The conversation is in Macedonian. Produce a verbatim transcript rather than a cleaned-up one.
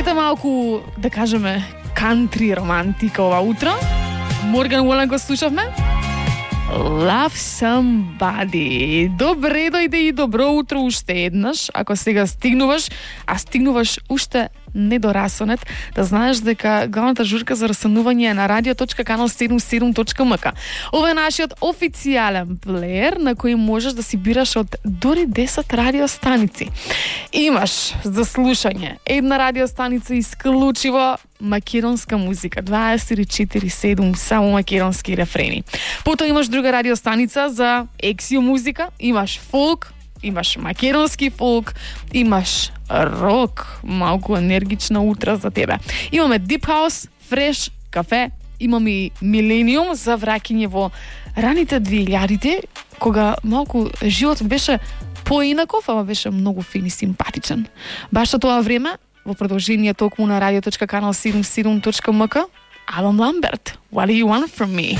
Ете малку, да кажеме, кантри романтика ова утро. Морган Уолен го слушавме. Love Somebody. Добре дојде и добро утро уште еднаш. Ако сега стигнуваш, а стигнуваш уште не до расонет, да знаеш дека главната журка за расонување е на радио точка канал седумдесет и седум точка ем ка. Ова е нашиот официјален плеер на кој можеш да си бираш од дори десет радиостаници. Имаш за слушање една радиостаница исклучиво македонска музика, дваесет и четири седум само македонски рефрени. Потоа имаш друга радиостаница за ексио музика, имаш фолк, имаш македонски фолк, имаш рок, малку енергична утра за тебе. Имаме Deep House, Fresh, кафе, имаме и Millennium за враќање во раните две илјадите, кога малку животот беше поинаков, ама беше многу фин и симпатичен. Баш за тоа време, во продолжение токму на радио точка канал седумдесет и седум точка ем ка, Алан Ламберт, What Do You Want From Me?